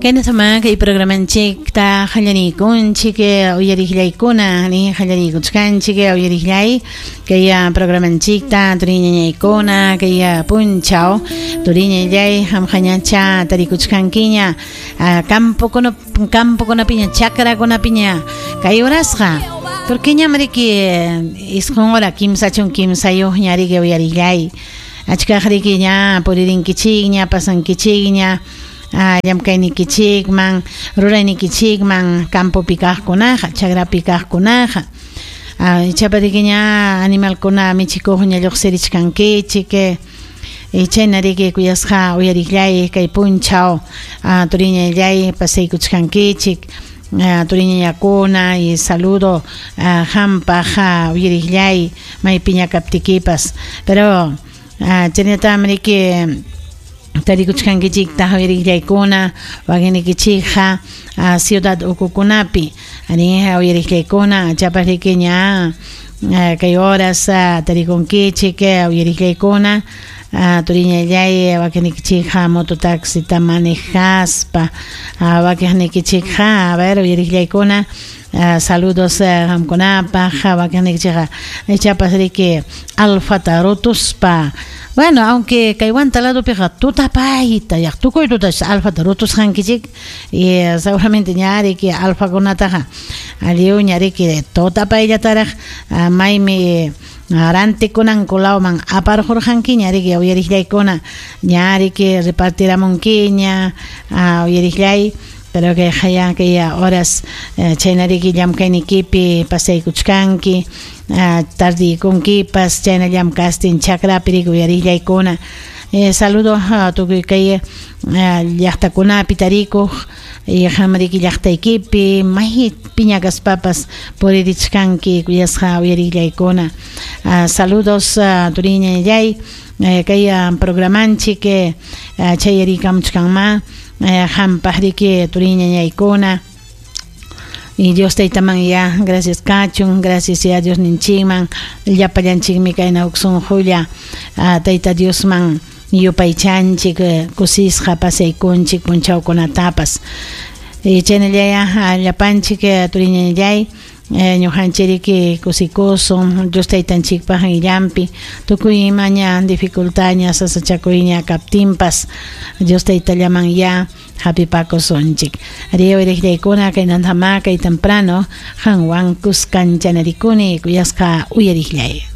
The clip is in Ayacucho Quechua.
Kaynatamá kay programanchikta qallariykunchik uyariqllaykuna ni qallariykuchkanchik uyariqllay kay programanchikta turiñañaykuna kay punchaw turiñallay qamqañacha tarikuchkankiña campokuna campokunapiña chakrakunapiña kay horasqa porque ñam riki isqun hora 33 riki uyariqllay achkaq riki ña puririnkichikña pasankichikña llamkaynikichikman ruraynikichikman campopi kaqkunaqa chakrapi kaqkunaqa ichapas riki ña animalkuna michikuqña lluqsirichkankichik chayna riki kuyasqa uyariqllay kay punchaw turiñallay pasaykuchkankichik turiñañakuna y saludo hampaq uyariqllay maypiña kaptikipas pero chaynatam riki tarikuchkankichiktaq uyariqllaykuna wakinnikichikqa ciudad ukukunapi ari uyariqllaykuna chapas riki ña kay horas tarikunkichik uyariqllaykuna turiñallay wakinnikichikqa mototaxita manejaspa wakiqnikichikqa a ver uyariqllaykuna saludos qamkunapaq wakinnikichikqa ichapas riki alfata rutuspa. Bueno, aunque kay Huanta ladopiqa tutapayta yaq tukuy tuta alfata rutusqankichik y seguramente ña riki alfakunataqa lliwña riki tutapayllataraq maymi rantikunanku lawman aparqurqankiña riki uyariqllaykuna ña riki repartiramunkiña uyariqllay pero kay qaya kay horas chayna riki llamkaynikipi pasaykuchkanki tardiykunkipas chayna llamkastin chakrapi riki uyariqllaykuna saludo tukuy kay llaqtakunapi tarikuq qam riki llaqtaykipi maypiña kaspapas puririchkanki kuyasqa uyariqllaykuna saludos turiñallay kay programanchik chayarikamuchkanma hampaq riki turiñañaykuna y Dios taytaman ya gracias kachun gracias ya Dios ninchikman llapallanchikmi kayna huk sunqulla tayta Diosman yupaychanchik kusisqa pasaykunchik punchawkunatapas chaynallaya llapanchik turiñallay ñuqanchik kusikusun Dios taytanchikpaq illampi tukuy imaña dificultadña sasachakuyña kaptinpas Dios taytallaman ya hapipakusunchik arí uyariqllaykuna kaynantama kay temprano qanwan kuskan chanarikuni kuyasqa uyariqllay.